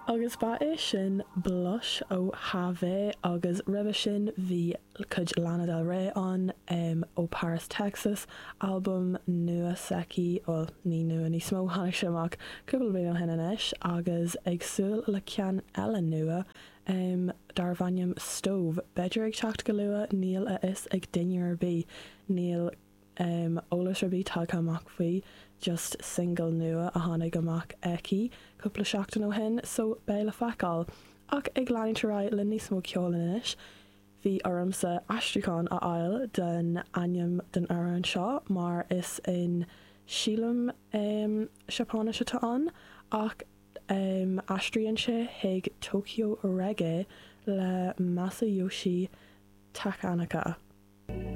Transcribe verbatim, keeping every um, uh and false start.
Agus ba é sin Blush ó Havé agus roimhe sin bhí cuid Lana Del Rey an um, ó Paris, Texas, albam nua s'aici ó ní nua níos mó tháinig sé amach cúpla bliain ó shin anois agus ag súil le ceann eile nua um, darb ainm Stove. B'fhéidir ag teacht go luath níl a fhios ag duine ar bith níl um, eolas ar bith tagtha amach faoi just single nua a tháinig amach aici cúpla seachtain ó shin, so beidh le feiceáil. Ach ag leanúint ar aghaidh le níos mó ceoil anois, bhí ormsa aistriúchán a fháil den ainm den amhrán seo mar is in sílim um, Seapáinis atá ann ach um, aistríonn sé chuig Tokyo Reggae le Masayoshi Takanaka.